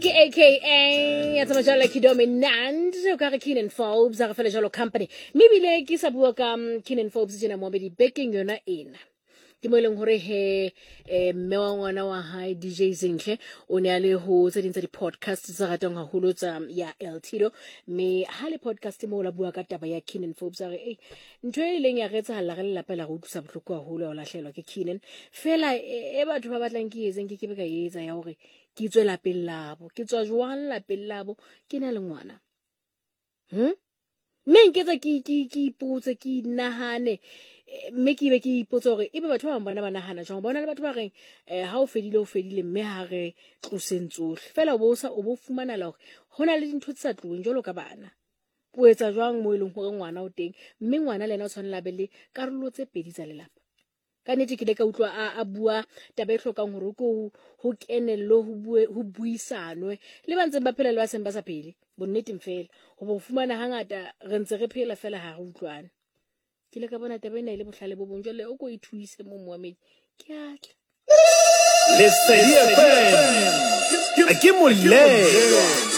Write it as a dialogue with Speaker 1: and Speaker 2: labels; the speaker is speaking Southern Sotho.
Speaker 1: Ke aka ya tsamaya jalo ke dominant o ka re Keenan Forbes a re fele jalo company. Mme ebile ke sa bua ka Keenan Forbes tjena moabedi bekeng yona ena. Ke mo e leng hore he mme wa ngwana wa hae DJ Zinhle o ne a le ho tse ding tsa di-podcast tse ratang haholo tsa ya El Tito, mme ha le podcast moo la bua ka taba ya Keenan Forbes, a re ei ntho e ileng ya re etsahala re lelapa la re utlwisa bohloko haholo ya ho lahlehelwa ke Keenan. Fela e batho ba batlang ke etseng ke ke be ka etsa ya hore ke tswe lapeng labo, ke tswa jwang lapeng labo ke na le ngwana. Mme nketsa ke ke ke ipotse, ke inahane, mme ke be ke ipotse hore ebe batho ba bang bona ba nahana jwang. Bona le batho ba reng ha o fedile o fedile, mme ha re tloseng tsohle fela, o bo sa o bo fumanela hore ho na le dintho tse sa tloheng jwalo ka bana. O etsa jwang mo e leng hore ngwana o teng, mme ngwana le yena o tshwanela be le karolo tse pedi tsa lelapa. Ka nnete ke ile ka utlwa a bua taba e hlokang hore ko ho kenellwe, ho bue, ho buisanwe le ba ntseng ba phela le ba seng ba sa phele, bonneteng fela. Hoba o fumana hangata re ntse re phela fela ha re utlwane. Ke ile ka bona taba ena e le bohlale bo bong. Jwale o ko ithuise mo moamedi, ke a tla.
Speaker 2: Lesedi FM ke molelo.